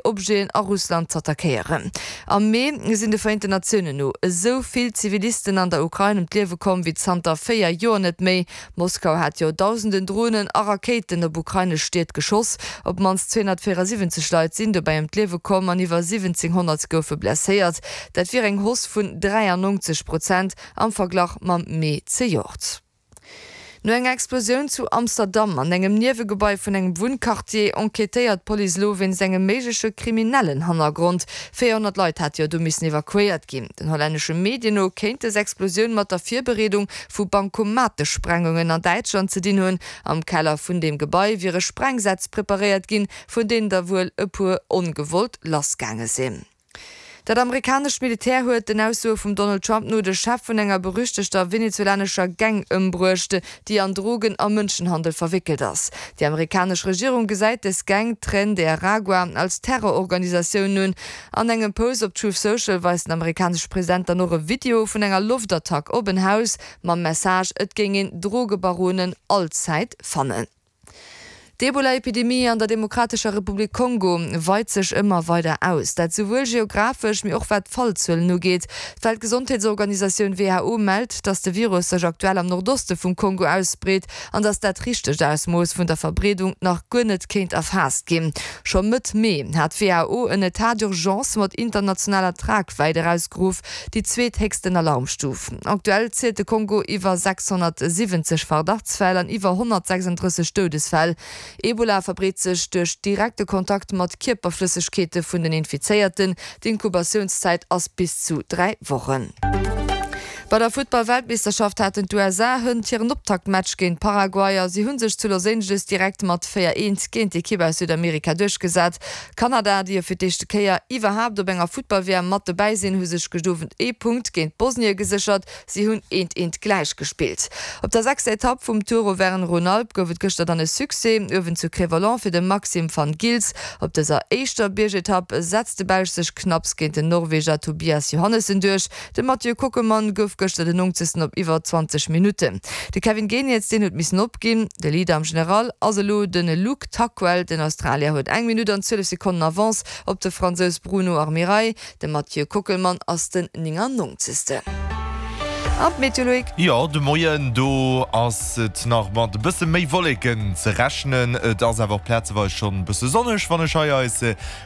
Objeten a Russland z'attackéieren. Am Mee sinn de Vereenten Natiounen no esou vill Zivilisten an der Ukrain ëm d'Liewe komm wéi zanter 4 Joer net méi. Moskau hat jo dausenden Dronen a Rakéiten op ukrainesch Stied geschoss. Op d'mannst 274 Leit sinn dobäi ëm d'Liewe komm an iwwer 1.700 goufe blesséiert. Dat wier eng Hausse vun 93 Prozent am Verglach mam Mee zejoert. No enger Explosioun zu Amsterdam an engem Niewegebai vun engem Wunnquartier enquêtéiert d'Police elo wéinst engem méigleche kriminellen Hannergrond. 400 Leit hate jo do missen evakuéiert ginn. Den hollännesche Medien no kéint dës Explosioun mat der Virbereedung vu Bankomatesprengungen an Däitschland ze dinn hunn. Am Keller vun deem Gebai wiere Sprengsätz preparéiert ginn, vun deenen der wuel e puer ongewollt lassgaange sinn. Dat amerikanescht Militär huet, den Aussoe vum Donald Trump no, de Chef vun enger berüchtegter venezuelanescher Gang ëmbruecht, déi an Drogen a Mënschenhandel verwéckelt ass. Déi amerikanesch Regierung gesäit dës Gang, Tren de Aragua, als Terrororganisatioun un. An engem Post op Truth Social weist den amerikanesche President dann och e Video vun enger Loftattack op en Haus mam Message, et géing een Drogebaronen allzäit fannen. D'Ebola-Epidemie an der Demokratescher Republik Kongo weit sech ëmmer weider aus. Dat souwuel geographesch, mee och wat d'Fallzuelen ugeet. D'Weltgesondheetsorganisatioun who mellt, datt de Virus sech aktuell am Nordoste vum Kongo ausbreet an datt dat richtegt Ausmooss vun der Verbreedung nach guer net kéint erfaasst ginn. Scho Mëtt Mee hat d'WHO en Etat d'urgence mat internationaler Tragwäit erausgeruff, déi zweethéchsten Alarmstuf. Aktuell zielt de Kongo iwwer 670 Verdachtsfäll an iwwer 136 Doudesfäll. Ebola verbreet sech duerch direkte Kontakt mat Kierperflëssegkeete vun den Infizéierten. D'Inkubatiounszäit ass bis zu 3 Wochen. Bei der Futtball-Weltmeeschterschaft haten d'USA hënt hiren Optaktmatch géint Paraguay a si hu sech zu Los Angeles direkt mat 4, 1 géint d'Ekipp aus Südamerika duerchgesat. Kanada, déi jo fir d'éischte Kéier iwwerhaapt op enger Futtball-WM mat dobäi sinn, hu sech gëscht Owend ee Punkt géint Bosnie geséchert. Si hunn eent eent gläich gespillt. Op der sechster Etapp vum Tour Auvergne-Rhône-Alpes gouf et gëschter dann e Succès uewen zu Cré-Volant fir de Maxim Van Gils. Op dëser éischter Biergetapp setzt de Belsch sech knapps géint den Norweger Tobias Johannessen duerch. De Mathieu Kockelmann gouf gëschter den Nongzegsten op iwwer 20 Minutten. De Kevin Geniets, deen huet missen opginn. De Leader am General ass elo de Luke Tuckwell. Den Australier huet eng Minutt an 12 Sekonnen Avance op de Fransous Bruno Armirail. De Mathieu Kockelmann ass den 99. An d'Meteo, Loïc? Jo, de Moien, do ass et nach mat e bësse méi Wolleken ze rechnen. Et ass awer och plazeweis schonn e bësse sonneg, wann ech hei eis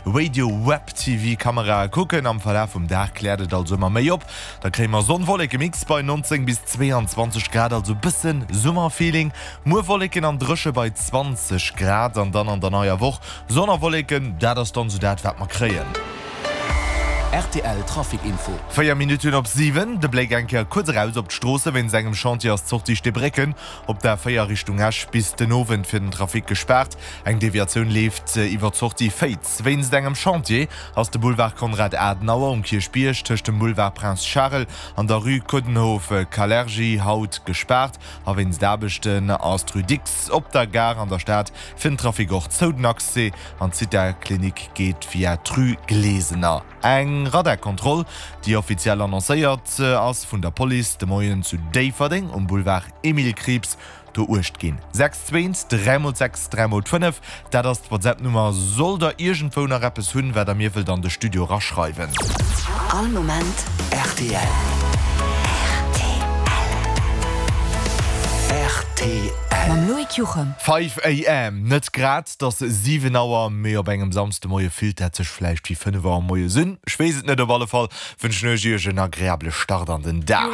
Radio Web TV Kamerae kucken. Am Verlaf vum Dag kläert et also ëmmer méi op, da kréie mer Sonn-Wolleke-Mix bei 19 bis 22 Grad, also bësse Summerfeeling. Muer Wolleken an dréche bei 20 Grad an dann an der neier Woch Sonn a Wolleken, dat ass dann sou dat wat mer kréien. Rtl Trafic Info. 4 Minutten op 7, de Bléck eng Kéier kuerz eraus op d'Stroosse. Wéinst engem Chantier ass d'Sortie Steebrécken op der A4 Richtung Esch bis den Owend fir den Trafic gespaart. Eng Deviatioun leeft iwwer d'Sortie Féiz. Wéinst engem Chantier ass de Boulevard Konrad Adenauer um Kierchbierg tëscht dem Boulevard Prince Charles an der Rue Coudenhove-Kalergi haut gespaart. A wéinst Aarbechten ass d'Rue Dicks op der Gare an der Stad fir den Trafic och zou. Den Accès an d'Zitha-Klinik geet via d'Rue Glesener. Eng Radarkontroll, déi offiziell annoncéiert ass vun der Police de Moien zu Déifferdeng um Boulevard Emile Krieps, do uecht ginn. 6 zweent, 3 mol 6, 3 mol 5, dat ass d'WhatsApp-Nummer. Sollt der iergendwou nach eppes hunn, wat der mir wëllt an de Studio eraschreiwen. All Moment rtl. Rtl. Mam Loïc Juchem. 5 AM, net grad, 't ass 7 Auer, mee op engem Samsdemoie fillt dat sech vläicht wéi 5 Auer moies un. Ech weess et net, op alle Fall wënschen ech iech en agreabele Start an den Dag.